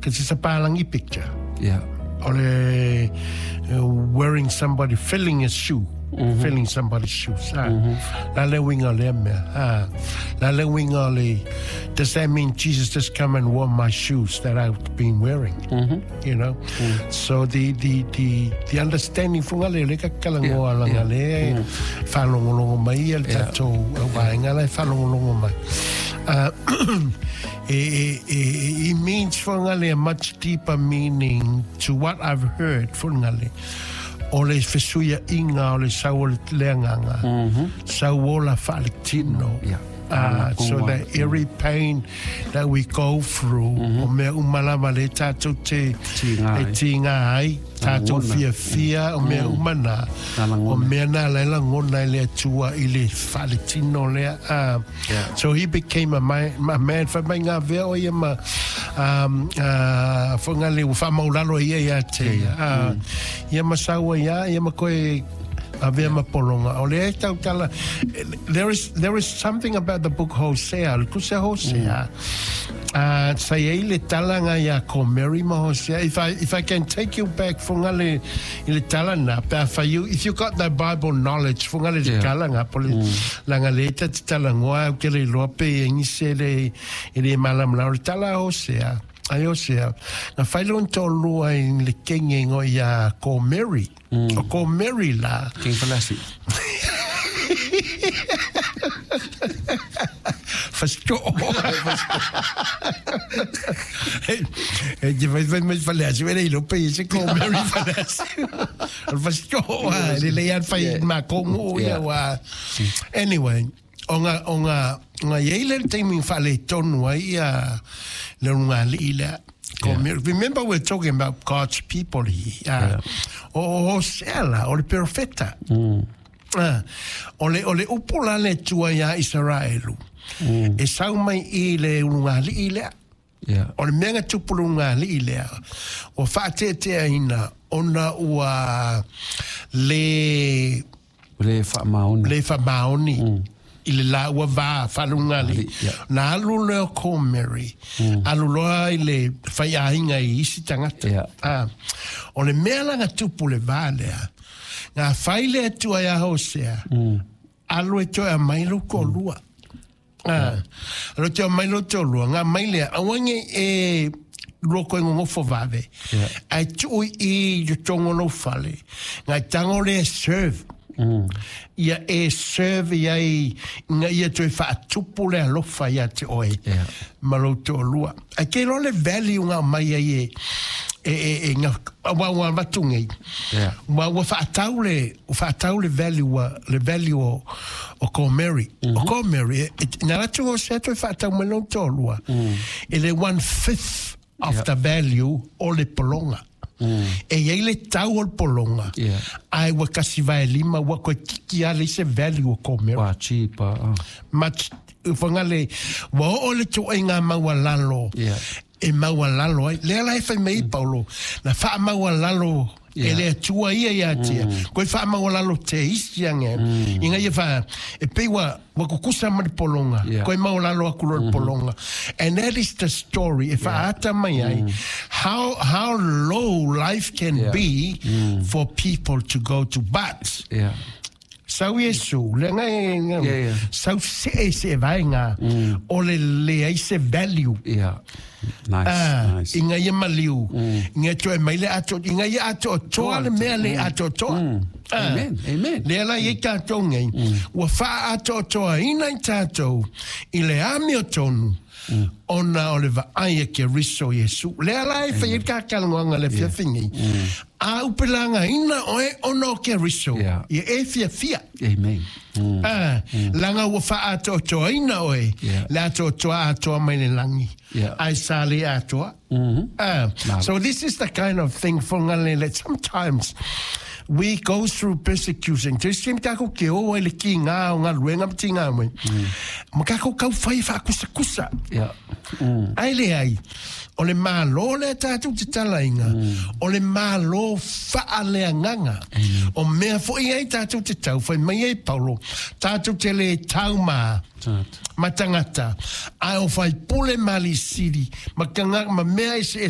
Because it's a palangi picture. Yeah. O le wearing somebody, filling a shoe. Filling somebody's shoes. Ah. La le uiga o lea mea. Ah. La le uiga o le, does that mean Jesus just come and wore my shoes that I've been wearing? You know? So the understanding funga le le ka kalangoa langa le whalongolongo mai ia le tatou waenga la e whalongolongo mai. It means funga le a much deeper meaning to what I've heard funga le. O le fesuia inga o le sau o le leanganga. Sau o la whaaletino. So that every pain that we go through, o mea umalama le tātou te Tīngā e ai. tīngā ai, tātou Langona. fia fia, o mea umana, Nā langona. o mea nā lai langona i le atua i le whaaletino lea. So he became a man, wha mai ngā vea o ia ma, wha le wha maulalo ia ia te. Ia ma saua ia, ia ma koe a vea ma polonga. O le e tautala, there is something about the book Hosea, le kusa Hosea. Sa ia i le talanga ia ko Mary ma Hosea. If I can take you back funga le, i le talanga, pe a you, if you got the Bible knowledge, funga le talanga, po le, langa le ta te talangoa, au ke le loa pe e ngise le, i le malam la, o le tala Hosea. Ai Hosea, na whailon tō lua i le kenge ngo ia ko Mary. O ko Mary la. King Falasi. Fasto. E te vai vai mai falasi, vele i lope i se ko Mary falasi. O fasto, le le ian fai ma kongo ia wa. Anyway, o nga iei le taimi whale tonu ai ia le runga li le. Remember we're talking about God's people here. O Hosea la, o le profeta. Ah, o le upu la le tua ia Israelu. E sau mai i le ulunga li lea. O le mea nga tupu lunga li lea. O whaateatea ina ona ua le Le wha maoni. Le wha maoni. I le la ua va whalunga li. Na alu leo ko Mary. Alu loa i le whai ahinga i isi tangata. Ah, o le mea langa tupu le vā lea. Ngā whai le atua ia Hosea. Alu e toe a mai lo ko lua. Ah, alu te mai lo to lua. Ngā mai lea, awange e lua koe ngongofo vave. Ai tui i te tongo lo fale. Ngā tango le serve. Ia e serve ia i ngā ia toe whaatupu le alofa ia te oe. Ma lo to lua. Ai ke lo le value ngā mai ai e ngā ua ua vatu ngei. Ua ua whaatau le, ua whaatau le value, le value o ko Mary. O ko Mary, nā ratu o se toe whaatau mai lo to lua. E le 1/5 of the value o le polonga. E iei le tau o le polonga. Ai ua kasi vai lima, ua koe tiki ale i se value o ko Mary. Wa cheap. Much, whanga le, ua o le tō e ngā maua lalo. E maua lalo ai. Lea lai whai mei Paulo, na wha maua lalo e le atua ia ia tia. Koe wha maua lalo te isi ange. Inga ia wha, e pe ua kukusa ma le polonga. Koe maua lalo aku lo le polonga. And that is the story. E wha ata mai ai, how low life can be for people to go to. But, sau Iesu, le ngai, ngai, sau se e se vaenga, o le le ai se value. Yeah. Nice. Ah, nice. Inga ia maliu. Inga toe mai le ato, inga ia ato toa le mea le ato toa. Ah. Amen. Amen. Lea la i tātou nei, ua wha ato toa ina i tātou, i le ami o tonu, ona o le vaai e ke riso Iesu. Lea la e whai e kākalangoanga le fia fingi. A upelanga ina oe ona o ke riso. Ia e fia fia. Amen. Ah, langa ua wha ato toa ina oe. Le ato toa atoa mai le langi. Ai sa le atoa. Ah, so this is the kind of thing for ngale that sometimes we go through persecution. Te sim tako ke o le ki ngā o ngā luenga mti ngā mwe. Ma kako kau whai wha kusa kusa. Ai le ai, o le malo le tātou te talainga, o le malo wha le anganga. O mea fo i ai tātou te tau, whai mai ai Paulo, tātou te le tau ma, Tangata. ma tangata. Ai o whai pule mali siri, ma kanga, ma mea ese